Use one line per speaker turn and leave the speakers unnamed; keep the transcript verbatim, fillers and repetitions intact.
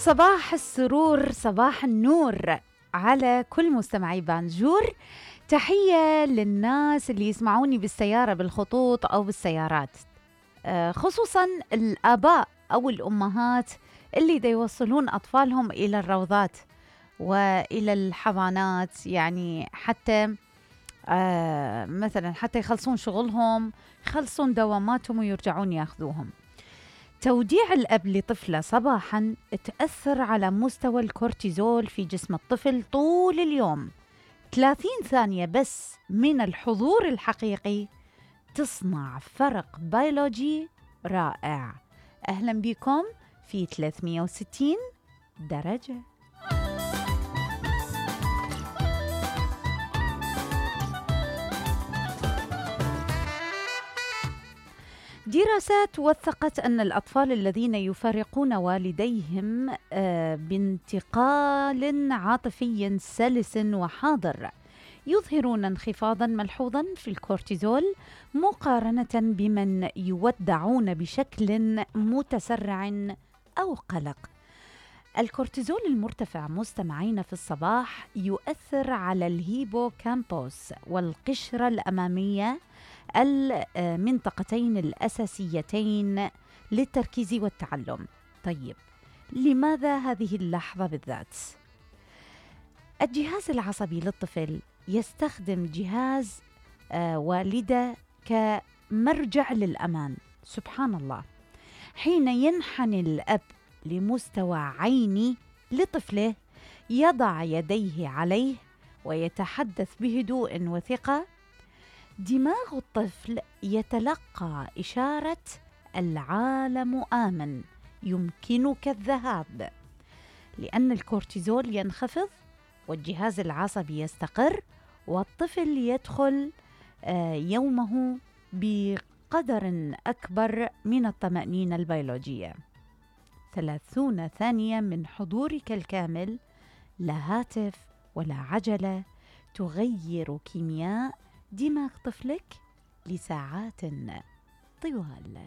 صباح السرور، صباح النور على كل مستمعي بانجور. تحية للناس اللي يسمعوني بالسيارة بالخطوط أو بالسيارات، خصوصاً الآباء أو الأمهات اللي دا يوصلون أطفالهم إلى الروضات وإلى الحضانات، يعني حتى آه مثلاً حتى يخلصون شغلهم، يخلصون دواماتهم ويرجعون ياخذوهم. توديع الأب لطفله صباحاً تأثر على مستوى الكورتيزول في جسم الطفل طول اليوم. ثلاثين ثانية بس من الحضور الحقيقي تصنع فرق بيولوجي رائع. أهلاً بكم في ثلاثمئة وستين درجة. دراسات وثقت أن الأطفال الذين يفارقون والديهم بانتقال عاطفي سلس وحاضر يظهرون انخفاضا ملحوظا في الكورتيزول مقارنة بمن يودعون بشكل متسرع أو قلق. الكورتيزول المرتفع مستمعين في الصباح يؤثر على الهيبوكامبوس والقشرة الأمامية، المنطقتين الأساسيتين للتركيز والتعلم. طيب، لماذا هذه اللحظة بالذات؟ الجهاز العصبي للطفل يستخدم جهاز آه والدة كمرجع للأمان. سبحان الله، حين ينحني الأب لمستوى عيني لطفله يضع يديه عليه ويتحدث بهدوء وثقة، دماغ الطفل يتلقى إشارة العالم آمن، يمكنك الذهاب، لأن الكورتيزول ينخفض والجهاز العصبي يستقر، والطفل يدخل يومه بقدر أكبر من الطمأنينة البيولوجية. ثلاثون ثانية من حضورك الكامل، لا هاتف ولا عجلة، تغير كيمياء دماغ طفلك لساعات طوال.